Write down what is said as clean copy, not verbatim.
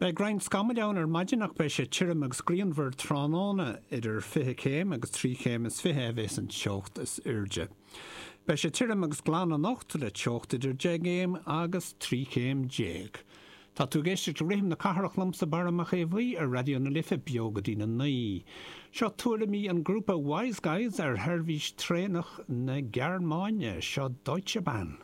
Beidh roinnt scamaill ann ar maidin ach beidh sé tirim agus grianmhar tráthnóna. Idir 20 céim agus 23 chéim a bheas an teocht is airde. Beidh sé tirim agus glan anocht le teocht idir 10 gcéim agus 13 chéim. Tá tú ag éisteacht le Rithim na Cathrach liomsa Barra Mac Aodha Bhuí ar Raidió na Life beo go dtí na 9. Seo tuairimí an grúpa Wise Guys ar sheirbhís traenach na Gearmáine. Seo Deutsche Bahn.